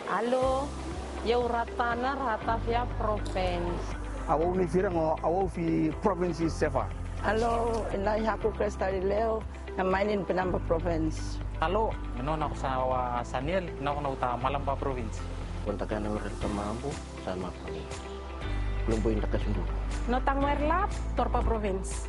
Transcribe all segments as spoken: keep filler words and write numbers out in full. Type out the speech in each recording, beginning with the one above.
Alo, yau Ratana, Ratavia Province. Awau ni firang o awau fi province i Seva. Alo, ina yaku Krista Lileo, na mainin Penamba Province. Alo, ino naku sa wa Saniel, naku naku ta Malamba Province. Kontakan orang Tamabu, sama kami. Belum poin dekat sundu. Notang Werlap, Torpa Province.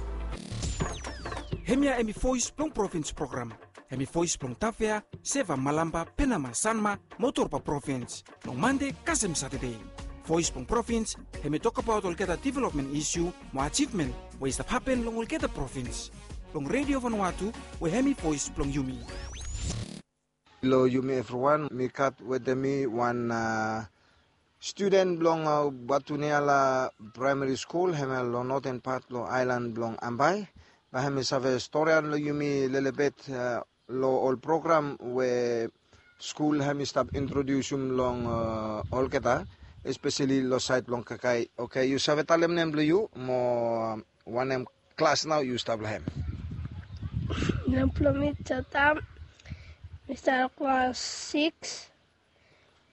Hemia hemi Voice blong Province program. Hemi Voice blong Tavea, Seva, Malamba, Penama, Sanma mo Torpa Province. Long Mande kasem Satade. Voice blong Province hemi tokbaot olgeta development isu mo achievement we i stap hapen long olgeta province. Long Radio Vanuatu, we hemi voice blong yumi. Lo yumi evriwan, mi gat wetem mi wan, a, studen blong, a, Batuniala Praemari Skul, hemia lo noten pat lo aelan blong Ambae. Bae hemi save storian lo yumi lelebet, a, lo ol program we skul hemi stap introdiusim long, a, olgeta, espeseli lo saed blong kakae. Oke, yu save talem nem blo yu mo, a, wanem klas nao yu stap lo hem? Nem blo mi Jotam, mi stap lo klas sikis.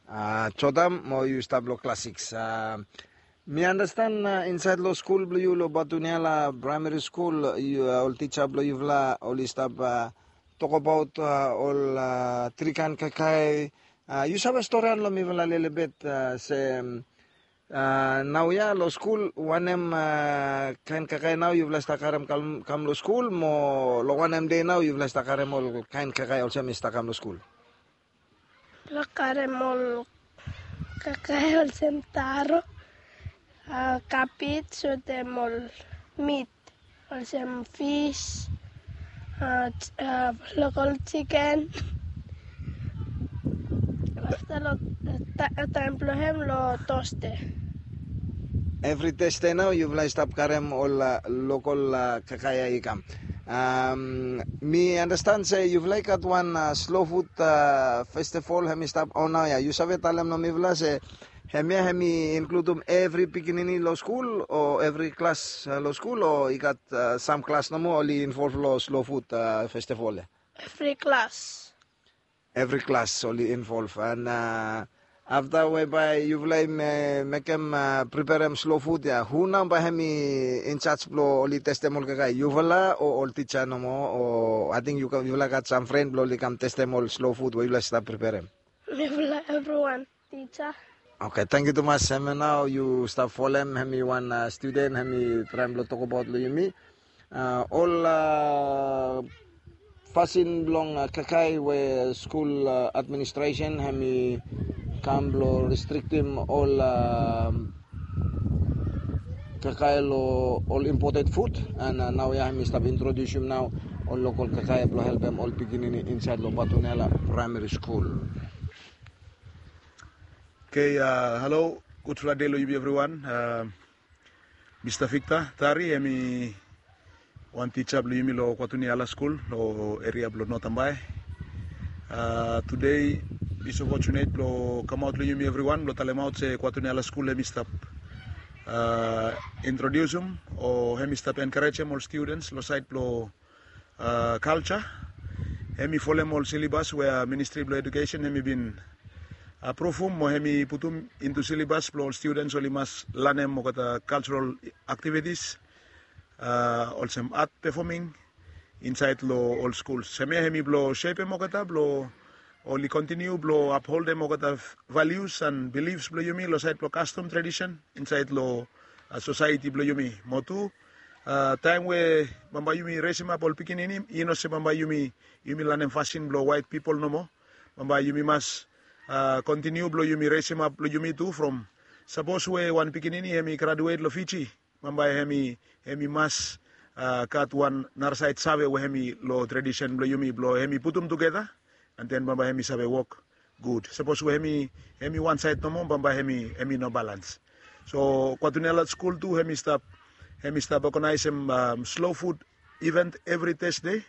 A, Jotam, mo yu stap lo klas sikis. A, mi andastan, a, insaed lo skul blo yu lo Batuniala Praemari Skul, yu, a, ol tija blo yufala oli stap, a, tokbaot, a, ol, a, tri kaen kakae. A, yu save storian lo mifala lelebet, a, se, a, naoia lo skul, wanem, a, kaen kakae nao yufala stap karem kam, kam lo skul, mo lo wanem dei nao yufala stap karem ol kaen kakae olsem i stap kam lo skul? Lo karem ol kakae olsem taro, a, kabej, wetem ol mit olsem fis, a, ch-, a, lokol jiken. Afta lo, a, ta-, taem blo hem lo Tosde. Evri Tosde nao yufala i stap karem ol, a, lokol, a, kakae ya i kam. Am, mi andastan se yufala i gat wan, a, Slow Food, a, Festival hemi stap on naoia. Yu save talem lo mifala se hemia hemi inkludum evri pikinini lo skul, o evri klas, a, lo skul, o i gat, a, sam klas nomo oli involv lo Slow Food, a, Festival ya? Evri klas. Evri klas oli involv. An, a, afta we bae yufala i me-, mekem, a, preperem Slow Food ya, hu nao bae hemi injaj blo oli testem ol kakae? Yufala o ol tija nomo, o ating yu ka-, yufala gat sam fren blo oli kam testem ol Slow Food we yufala stap preperem? Mifala evriwan. Tija. Oke, tangkiu tumas. Hemia nao yu stap folem, hemi wan, a, studen, hemi traem blo tokbaot lo yumi, a, ol, a, fasin blong, a, kakae we skul, a, administresen hemi kam blo restriktim ol, a, kakae lo ol imported food, an, a, naoia hemi stap introdiusim nao ol lokol kakae blo helpem ol pikinini insaed lo Batuniala Praemari Skul. Oke, a, halo, gudfala dei lo yumi evriwan. A, Mista Victor Tari, hemi wan tija blo yumi lo Kwatuniala Skul, lo eria blo North Ambae. A, tede mi so fortunate blo kamaot lo yumi evriwan blo talemaot se Kwatuniala Skul hemi stap, a, introdiusim o hemi stap enkarejem ol studens lo saed blo a, kalja. Hemi folem ol silabas we, a, Ministri blo Edukesen hemi bin apruvum mo hemi putum intu silabas blo ol studens oli mas lanem olgeta kaljarol aktivitis, a, olsem art performing insaed lo ol skul. Hemia hemi blo sepem olgeta blo oli kontiniu blo apholdem olgeta values an beliefs blo yumi lo saed blo kastom tradisen insaed lo, a, sosaeti blo yumi. Mo tu, a, taem we bambae yumi resemap ol pikinini, i no se bambae yumi, yumi lanem fasin blo waet pipol nomo. Bambae yumi mas, a, kontiniu blo yumi resemap blo yumi tu from, sapos we wan pikinini hemi graduet lo Fiji, bambae hemi, hemi mas, a, gat wan narasaed save we hemi lo tradisen blo yumi blo hemi putum tugeta, an den bambae hemi save wok gud. Sapos we hemi, hemi wan saed nomo, bambae hemi, hemi no balans. So Kwatuniala Skul tu hemi stap, hemi stap oganaesem, am, slow food event evri Tesde.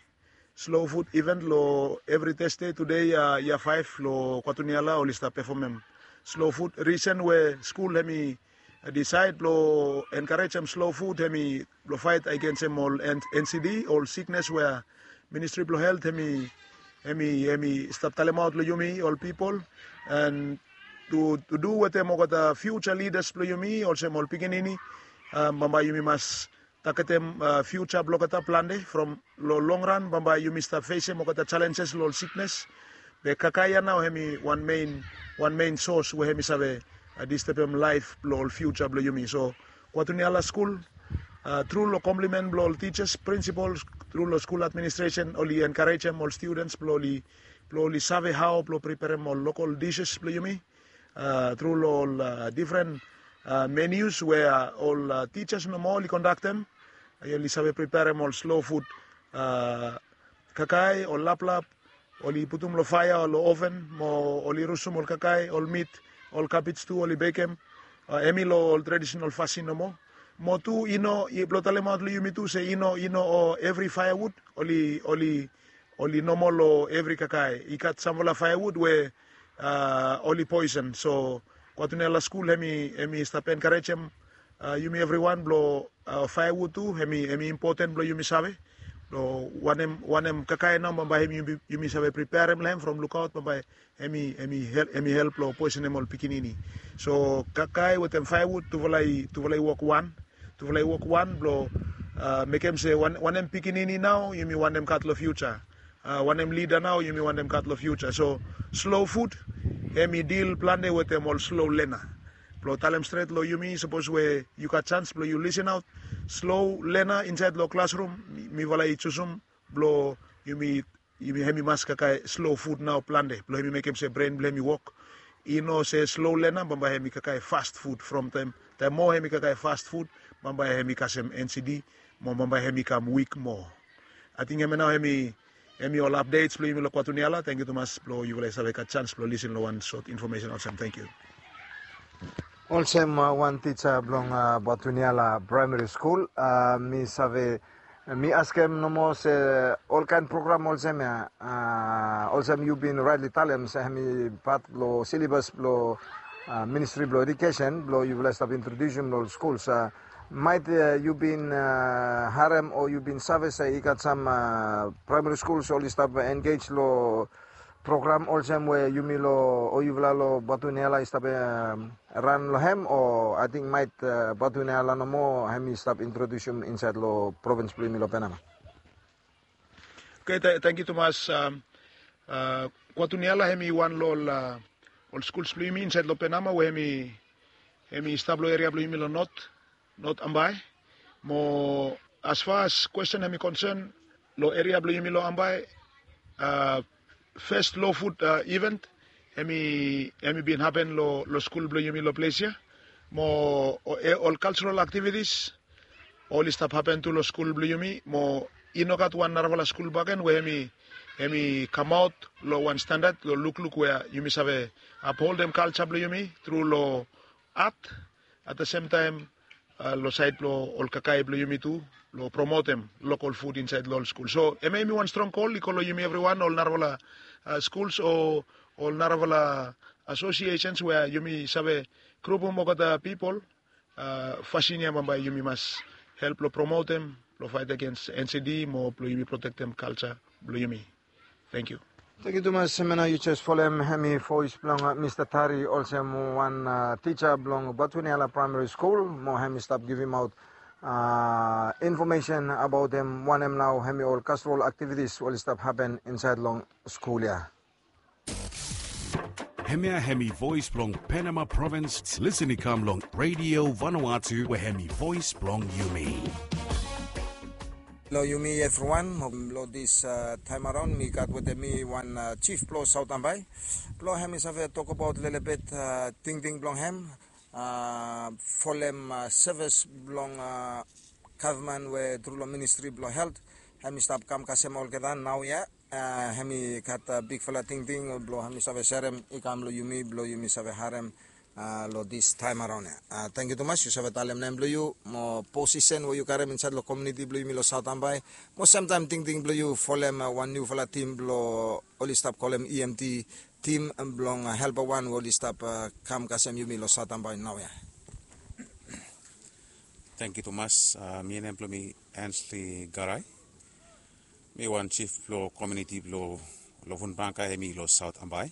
Slow food event lo evri Tesde. Tede, a, yia faef lo Kwatuniala oli stap pefomem slow food. Risen we skul hemi disaed blo enkarejem slow food hemi blo faet agensem ol N-, N C D, ol siknes we Ministri blo Helt hemi, hemi, hemi stap talemaot lo yumi ol pipol. An tu tu du wetem olgeta future leaders blong yumi olsem ol pikinini. Bambae yumi mas taketem future blong olgeta plante from long long ran bambae yumi stap fesem olgeta challenges long ol siknes. Be kakae ya nao hem i wan main wan main source we hem i save distebem laef blong ol future blong yumi. So kwatuniala skul tru long komplimen blong ol tijas, prinsipal, tru long skul administresen oli enkarejem ol studens blong oli blong oli save hao blong priperem ol lokal dishes blong yumi tru long ol difren menus we ol tijas nomo oli kondaktem. Oli save priperem ol slo fud kakae ol laplap oli putum long faea o long oven mo oli rusum ol kakae ol mit ol kabij tu oli bekem. Hemi long ol tradisenal fasin nomo. Mo tu i no blong talemaot long yumi tu se i no i no o evri faeawud oli oli oli nomo long evri kakae i gat samfala faeawud we oli poisen. So kwatuniala skul hemi hemi stap enkarejem yumi evriwan blong faeawud tu hemi hemi impoten blong yumi save blong wanem wanem kakae nao bambae hemi yumi save priperem long hem from lukaot bambae hemi hemi help long poisenem ol pikinini. So kakae wetem faeawud tufala i tufala i wok wan tufala i wok wan blong mekem se wanem pikinini nao yumi wantem gat long fiuja. Wanem lida nao yumi wantem gat long fiuja. So slo fud hemi dil plante wetem ol slo lena. Blong talem stret long yumi sapos we yu gat jans blong yu lisinaot slo lena insaed long klasrum mifala i jusum blong yumi yumi hemi mas kakae slo fud nao plante blong hemi mekem se bren blong hemi wok. I no se slo lena bambae hemi kakae fast fud from taem taem moa hemi kakae fast fud bambae hemi kasem ensidi mo bambae hemi kam wik moa. Ating hemia nao hemi hemi ol apdets blong yumi long kwatuniala. Tangkiu tumas blong yufala i save gat jans blong lisin long wan sot infomesen olsem tangkiu. Olsem wan tija blong kwatuniala praemari skul mi save mi askem nomo se olkaen program olsem ya olsem yu bin raetli talem se hemi pat blong silebas blong ministri blong edikesen blong yufala i stap introdiusim long ol skuls. Maet yu bin harem o yu bin save se i gat sam praemari skuls oli stap engej long program olsem we yumi long o yufala long batuniala i stap ran long hem o ating maet batuniala nomo hem i stap introdiusim insaed long provins blong yumi long penama. Oke, tangkiu tumas. Kwatuniala hem i wan long ol skuls blong yumi insaed long penama we hem i hem i stap long eria blong yumi long not not ambae. Mo asfas kwesten hem i konsen long eria blong yumi long ambae fes lo fud iven hem i bin hapen long skul blong yumi long ples ya. Mo ol kalseral aktivitis oli stap hapen tu long skul blong yumi mo i no gat wan narafala skul baken we hem i kamaot long wan standad long lukluk we yumi save apholdem kalsa blong yumi tru long at at the sem taem long saed blong ol kakae blong yumi tu long promotem lokal fud insaed long ol skul. So hemia hemi wan strong kol i go long yumi evriwan ol narafala skuls o ol narafala asosiesens we yumi save grupum olgeta pipol. Fasin ya bambae yumi mas help long promotem long faet agens ensidi mo blong yumi protektem kalsa blong yumi. Tangkiu. Tangkiu tumas. Hemia nao yu jes folem hemi voes blong mista Tari olsem wan tija blong batuniala praemari skul mo hem i stap givimaot infomesen abaotem wanem nao hemi ol kalserol aktivitis oli stap hapen insaed long skul ya. Hemia hemi voes blong penama provins. Lisin i kam long redio vanua tu we hemi voes blong yumi. Long yumi evriwan mo long dis taem araon mi gat wetem mi wan jif blong saot ambae blong hem i save tokabaot lelebet tingting blong hem folem sevis blong gavman we tru long ministri blong helt. Hem i stap kam kasem olgeta naoia. Hem i gat bigfala tingting blong hem i save serem i kam long yumi blong yumi save harem long dis taem araon ya. Tangkiu tumas yu save talem nem blong yu mo posisen we yu karem insaed long komiuniti blong yumi long saot ambae mo semtaem tingting blong yu folem wan niufala tim blong oli stap kolem emt tim blong helpa wan we oli stap kam kasem yumi long saot ambae naoia. Tangkiu tumas. Mi nem blong mi ansli garai. Mi wan jif blong komiuniti blong lovun bangka hemi long saot ambae.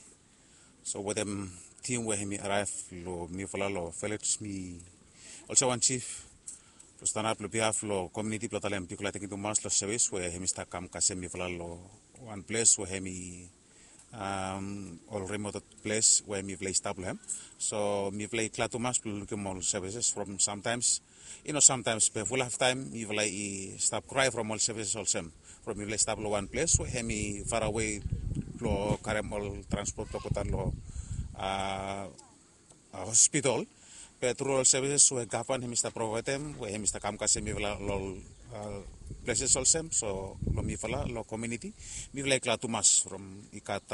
So wetem tim we hemi araev long mifala long village, mi olsem wan jif blong stanap long bihaf long komuniti blong talem bigfala tangkiu tumas long sevis we hemi stap kam kasem mifala long wan ples we hemi ol remote ples we mifala i stap long hem. So mifala i glad tumas blong lukim ol services from sometimes, you know, sometimes be fulaf taem mifala i stap krae from ol services olsem from mifala i stap long wan ples we hemi farawe blong karem ol transport blong go daon long hospital. Be tru ol services we gavman hemi stap provaedem we hemi stap kam kasem mifala long ol places olsem. So long mifala long komuniti, mifala i glad tumas from i gat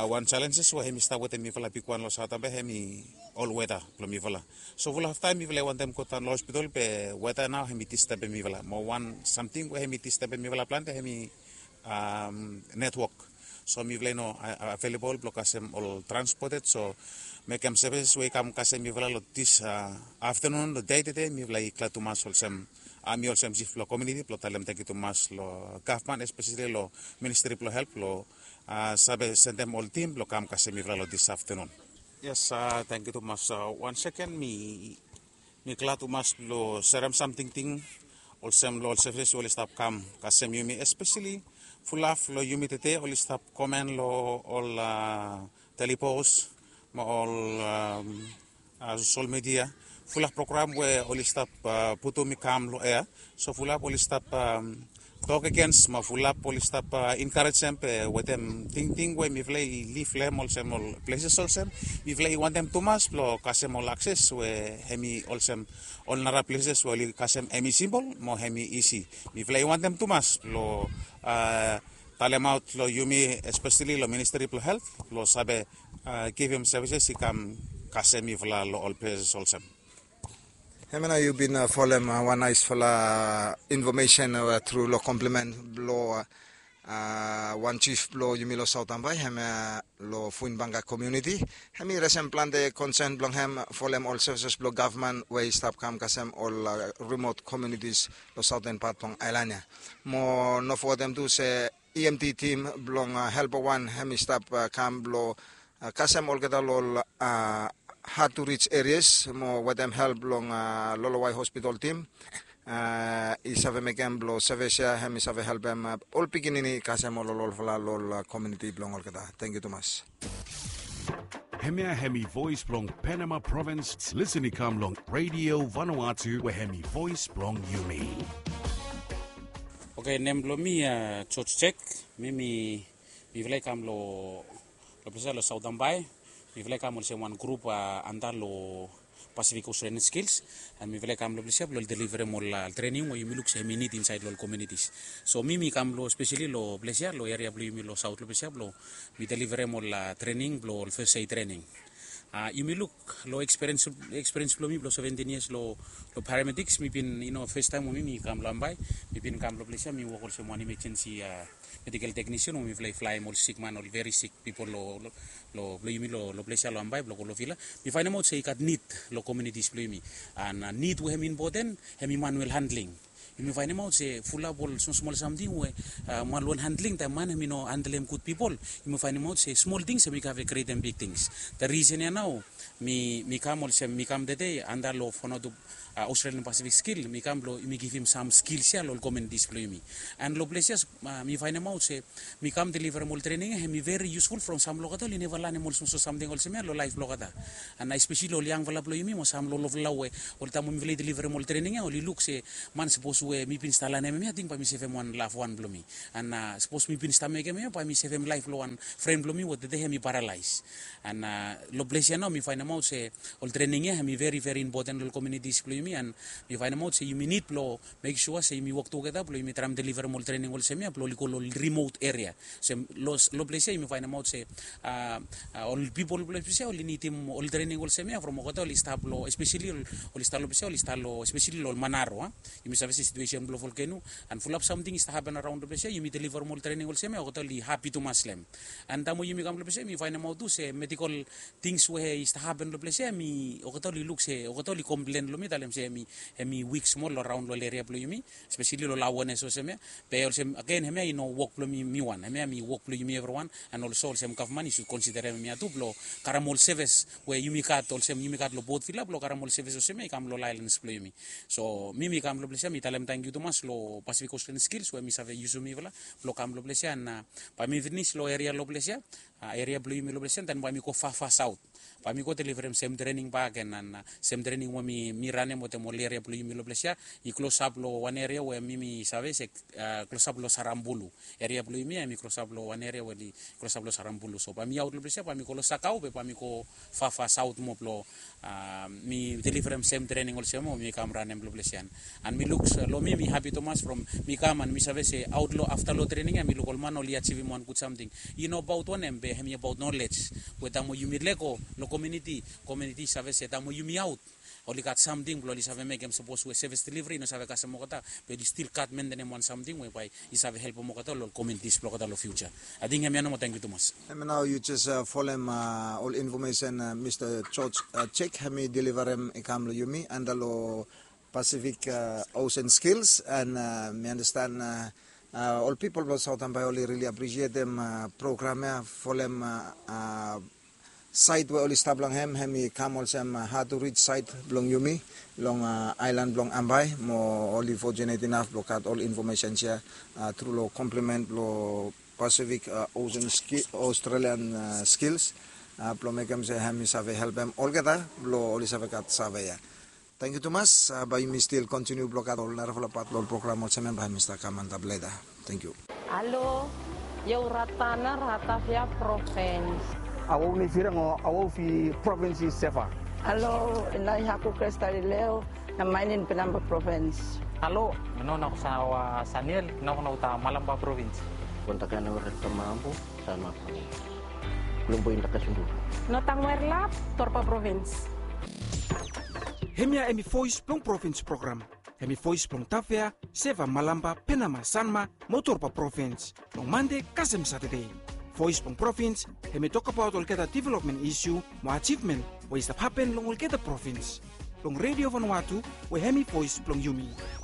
wan challenges we hemi stap wetem mifala bigwan long Southern Bay hemi ol weta blong mifala. So fulaf taem mifala i wantem go daon long hospital be weta nao hemi disturbem mifala. Mo wan samting we hemi disturbem mifala plante hemi network. So mifala i no available blong kasem ol transported. So mekem services we i kam kasem mifala long dis afternoon, long dei tede, mifala i glad tumas olsem, mi olsem jif blong komuniti blong talem tangkiu tumas long gavman, especially long Ministry blong Help blong save sendem ol tim blong kam kasem mifala long dis afternoon. Yes, tangkiu tumas. Wan seken, mi mi glad tumas blong serem sam tingting olsem long ol services we oli stap kam kasem yumi, especially fulaf long yumi tede oli stap komen long ol telipos mo ol social media, fulaf program we oli stap putum i kam long ea. So fulaf oli stap tok agens mo fulap oli stap enkarejem pe wetem tingting we mifala i liv long hem olsem ol pleses olsem, mifala i wantem tumas blong kasem ol akses we hemi olsem ol nara pleses we oli kasem hemi simpol mo hemi isi. Mifala i wantem tumas blong talemaot long yumi, espeseli long Ministri blong Helt, blong save givim sevises i kam kasem mifala long ol pleses olsem. Hemia nao yu bin folem wan naesfala infomesen tru long komplimen blong wan jif blong yumi long Saot Ambae, hemia long Fuinbanka komuniti. Hemi resem plante konsen blong hem folem ol sevises blong gavman we i stap kam kasem ol rimot komunitis long saoten pat blong aelan ya. Mo no fogetem tu se E M T tim blong Help Wan hemi stap kam blong kasem olgeta long ol had tu rij erias mo wetem help blong Lolowae Hospitol tim i save mekem blong sevis ya hemi save helpem ol pikinini kasem ol ololfala long ol komuniti blong olgeta. Tangkiu tumas. Hemia hemi voes blong Penama Provins. Lisen i kam long Redio Vanuatu we hemi voes blong yumi. Oke, nem blong mi George Jack. Mi mi mifala i kam long ples ya long Saot Ambae. Mifala i kam olsem wan grup anda long Pacific Australian Skills. And mifala i kam long ples ya blong deliverem ol trening we yumi luk se hemi nid insaed long ol komunitis. So mi mi kam long speseli long ples ya long eria blong yumi long saot long ples ya blong mi deliverem ol trening blong ol fes eid trening. Yumi luk long ekspiriens blong mi blong seventin yias long paramediks, mi bin, yu no, fes taem we mi mi kam long Ambae, mi bin kam long ples ya mi wok olsem wan imejensi medikel teknisian we mifala i flaem ol sikman, ol veri sik pipol long blong yumi long ples ya long Ambae blong go long Vila. Mi faenemaot se i gat nid long komunitis blong yumi. And nid we hemi impoten hemi manuel handling. Yumi faenemaot se fulap ol smosmol samting we manuel handling, taem man hemi no handlem gud pipol, yumi faenemaot se smol tings hemi kave krietem big tings. The risen ya nao mi kam olsem mi kam tede anda long Vanuatu Australian Pacific Skill, mi kam blong yumi givim sam skils ya long ol komunitis blong yumi. And long ples ya mi faenemaot se mi kam deliverem ol trening ya hemi veri yusful from sam long olgeta oli neva lanem ol smosmol samting olsem ya long laef blong olgeta. And espeseli ol yangfala blong yumi mo sam long olfala we ol taem we mifala i deliverem ol trening ya oli luk se man, sapos we mi bin stap lanem hemia, ating bae mi sevem wan lafwan blong mi. And sapos mi bin stap mekem hemia, bae mi sevem laef blong wan fren blong mi we tede hemi paralaes. And long ples ya nao mi faenemaot se ol trening ya hemi veri veri impoten long komunitis blong yumi, and mi faenemaot se yumi nid blong mek sua se yumi wok tugeta blong yumi traem deliverem ol trening olsem ya blong oli go long ol rimot eria. Se long ples ya yumi faenemaot se ol pipol blong ples ya oli nidim ol trening olsem ya from olgeta oli stap long, espeseli oli stap long ples ya oli stap long, espeseli long ol Manaro a. Yumi save se Situesen blong volkeno, an fulap samting i stap hapen araon long ples ya, yumi deliverem ol trening olsem ya, olgeta oli hapi tumas long hem. An taem we yumi kam long ples ya, yumi faenemaot tu se medikol tings we i stap hapen long ples ya, hemi, olgeta oli luk se, olgeta oli komplen long mi, talem se hemi, hemi wik smol long raon long ol eria blong yumi, espeseli long laones olsem ya. Be olsem, agen, hemia i no wok blong mi, mi wan. Hemia hemi wok blong yumi evriwan, an olso olsem gavman i sud konsiderem hemia tu blong karem ol sevis we yumi gat, olsem yumi gat long Port Vila, blong karem ol sevis olsem ya i kam long ol aelan blong yumi. So mi, mi kam long ples ya, mi talem tangkiu tumas long Pacific Australian Skills we hemi save yusum mifala blong kam long ples ya, an, a, bae mi finis long eria long ples ya, a, eria blong yumi long ples ya, an taem bae mi go fafas aot. Bae mi go deliverem sem trening bakegen, an, a, sem trening we mi, mi ranem wetem ol eria blong yumi long ples ya, i klosap long wan eria we mi, mi save se, a, klosap long Sarambulu. Eria blong yumi ya hemi klosap long wan eria we oli klosap long Sarambulu. So bae mi aot long ples ya, bae mi go long Sakau, be bae mi go fafas aot moa blong, a, mi deliverem sem trening olsem we mi kam ranem long ples ya. An mi luk, a, long mi, mi hapi tumas from mi kam an mi save se aot long, afta long trening ya, mi luk ol man oli ajivim wan gud samting. I no abaot wanem, be hemi abaot nolej. We taem we yumi lego long komuniti, komuniti i save se taem we yumi aot, oli gat samting blong oli save mekem, sapos we sevis deliveri i no save kasem olgeta, be oli stil gat mentenem wan samting we bae i save helpem olgeta long ol komunitis blong olgeta long fiuja. Ating hemia nomo, tangkiu tumas. Hemia nao yu jes, a, folem, a, ol infomesen, a, Mista George, a, Jek, hemi deliverem i kam long yumi anda long Pacific, a, Ocean Skills, an, a, mi andastan, a, a, ol pipol blong Saot Ambae oli rili apresietem, a, program ya, folem, a, a, saet we oli stap long hem, hemi kam olsem, a, hard to reach saet blong yumi long, a, aelan blong Ambae, mo oli fortunate inaf blong gat ol infomesens ya, a, tru long komplimen blong Pacific, a, Ocean Ski-, Australian, a, Skills, a, blong mekem se hemi save helpem olgeta blong oli save gat save ya. Tangkiu tumas, a, bae yumi stil kontiniu blong gat ol narafala pat long ol program olsem ya bae hemi stap kam antap leta. Tangkiu. Halo, Yoratana Ratafia Provins. Awau nei firang o awau fi provins i Seva. Halo, inai haku Kristalileo, na mainin Penamba Provins. Halo, no na kusa wa Saniel, no na uta Malamba Provins. Kontakana wa Rektamambu, Sanma Provins. Lombo inda kasundu. No tangwer lap, Torpa Provins. Hemia hemi Voes blong Provins program. Hemi voes blong Tafea, Seva, Malamba, Penama, Sanma, mo Torpa Provins, long Mande kasem Satade. Voes blong Provins hemi tokbaot olgeta developmen isiu mo ajivmen we i stap hapen long olgeta provins, long Redio Vanuatu, we hemi voes blong yumi.